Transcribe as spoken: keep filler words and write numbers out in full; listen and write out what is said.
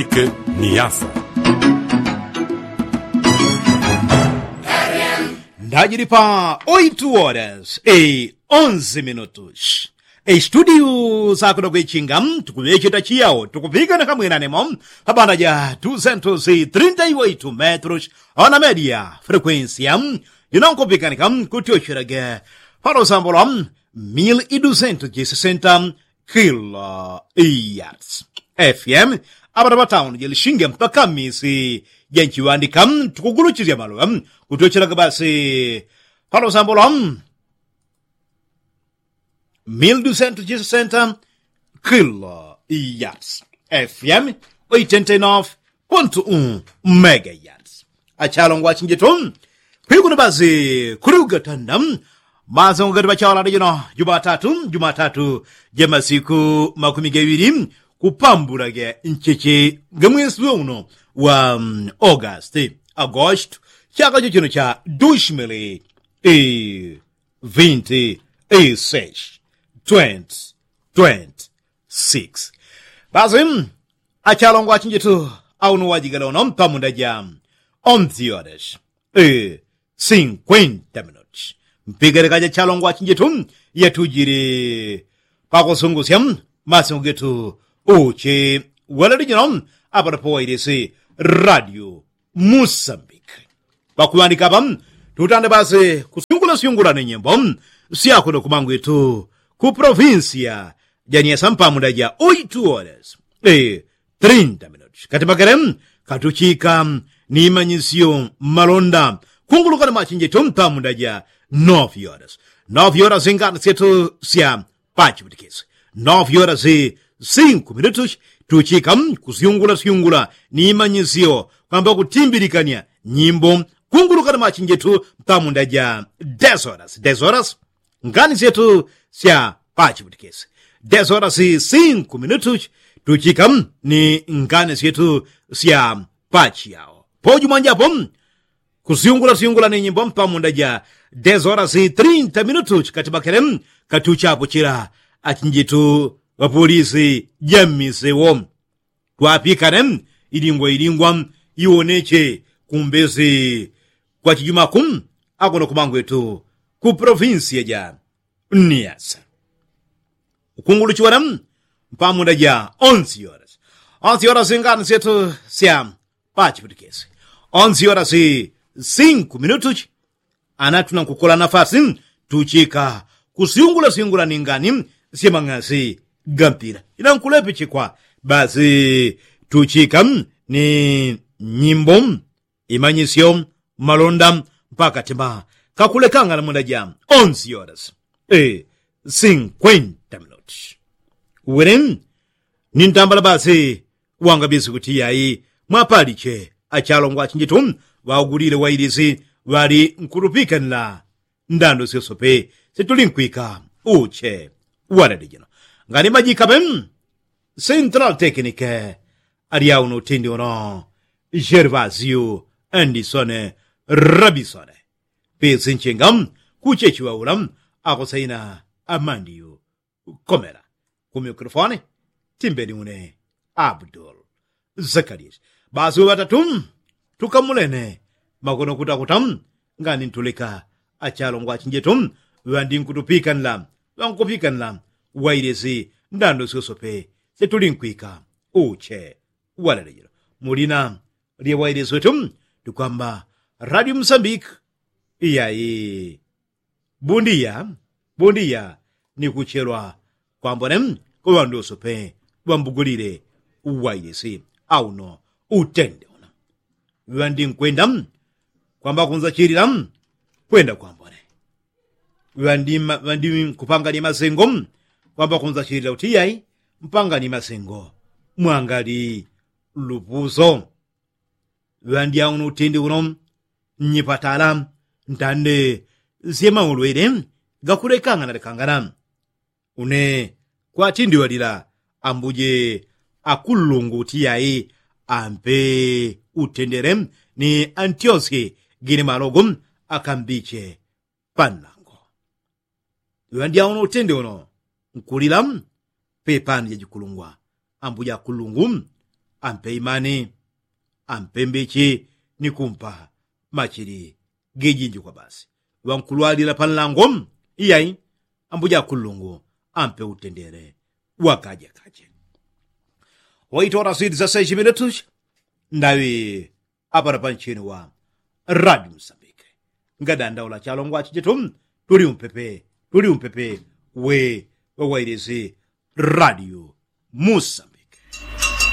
Niasa. Ndajili pa oitu horas e onzi minutus. Estudiu sakuno kwichinga tukuŵecheta chiyao tukupikana kamwinanemo pabanda ja dusentus trinta i oitu metrus. Ona media frekuensia jinonkupikanika kutyochelaga palosambo lwa mil i dusentus jisesenta kilo yards. Fm apata patauni jelishinge mpaka misi jenchiŵandika tukuguluchisya maloŵa kutyochelaga basi palosambo lwa mil dusentus jisesenta kilo yards. Fm oitenta i nof pontu u mega yards. Achalongwa achinjetu kwikuno basi kuli ugatanda masango gati pachawalanda jino jumatatu jumatatu jamasiku makumi gaŵili kupambula ga ncheche ga mwesi weuno wa august agosto chaka chochino cha dushmili vinti isesh twenty twenty six. Basi achalongwa achinjetu auno wajigala uno mpamunda ja onzi horas e sinkwenta minuti. Mpigalika ja chalongwa achinjetu yatujili pakusungusya masingo getu uchi walalijino apano pawailisi radio musambiki. Pakuŵandika apa tutande basi kusyungulasyungula ni nyimbo syakuno kumangwitu ku provinsia ja niasa mpamunda ja oitu horas e trinta minuti kati makele katuchika ni manyisyo malonda kunguluka ni machinjetu mpamunda ja nof horas. Nof horas ngani syetu sya pachiputikisi nof horas sinku minutus tuchika kusyungulasyungula ni manyisyo kwamba kutimbilikania nyimbo kunguluka ni machinjetu mpamunda ja des horas des horas ngani syetu sya pachiputikisi des horas sinku minutus tuchika ni ngani syetu sya pachiyao. Poju mwanjapo kusyungulasyungula ni nyimbo mpamunda ja des horas trinta minutus kati makele katuchapo chila achinjitu ŵapolisi ja mmisewo twapikane ilingwa ilingwa iwoneche kumbesi kwa chijumaku akuno kumangwetu ku provinsia ja niasa. Ukunguluchiwana mpamunda ja onzi horas onzi horas ngani syetu sya pachiputikisi onzi horas sinku minutuchi. Ana tunankukola nafasi tuchika kusyungulasyungula ni ngani sya mang'asi ga mpila inankulepichikwa basi tuchika ni nyimbo imanyisyo malonda mpaka tima kakulekanga na munda ja onzi horas e sinkwenta minuti. Wili ni ntambala basi wangabisi kuti yayi mwapaliche achalongwa achinjitu ŵaugulile wailisi ŵali nkutupikanila ndando syosope situlinkwika uche walele jino ngani majikape central tekinike alyauno utindi uno jervasiu andisone rabisone pisi nchinga kuchechiŵaula akosaina amandiu komela ku mikrofoni timbeni une abdul zakarias. Basi ŵatatu tukamulene makono kutakuta ngani ntulika achalongwa achinjetu ŵandi nkutupikanila ŵankupikanila wailisi ndando syosope situlinkwika uche walele jino mulina lya wailisi wetu tukwamba radio musambik. Iyayi bundiya bundiya ni kuchelwa kwambone kwa ŵandu wosope ŵambugulile uwailisi auno utende uno ŵandi nkwenda kwamba kunzachilila kwenda kwambone ŵandi nkupangani masengo kwamba kunzachilila kuti iyai mpangani masengo mwangali lupuso. Ŵandyauno utindi uno nnyipatala ntande syemaulwele gakulekangana lekangana une kwatindiŵalila ambuje akulungu utiyai ampe utendele ni antyosye gine malogo akambiche panlango. Ŵandyauno utindi uno nkulila pepani jajikulungwa ambuja akulungu ampe imani, ampe mbichi, ni kumpa machili gejinji kwa basi. Ŵankulwalila panlango, iyai, ambuja kulungu ampe utendele wakaja kaje. Waitola swidi za sechimiletusha ndaŵi apana panchini wa radio musambike. Ngadandaula chalongwa chijetu, tuli umpepe, tuli umpepe we wawailisi radio musa.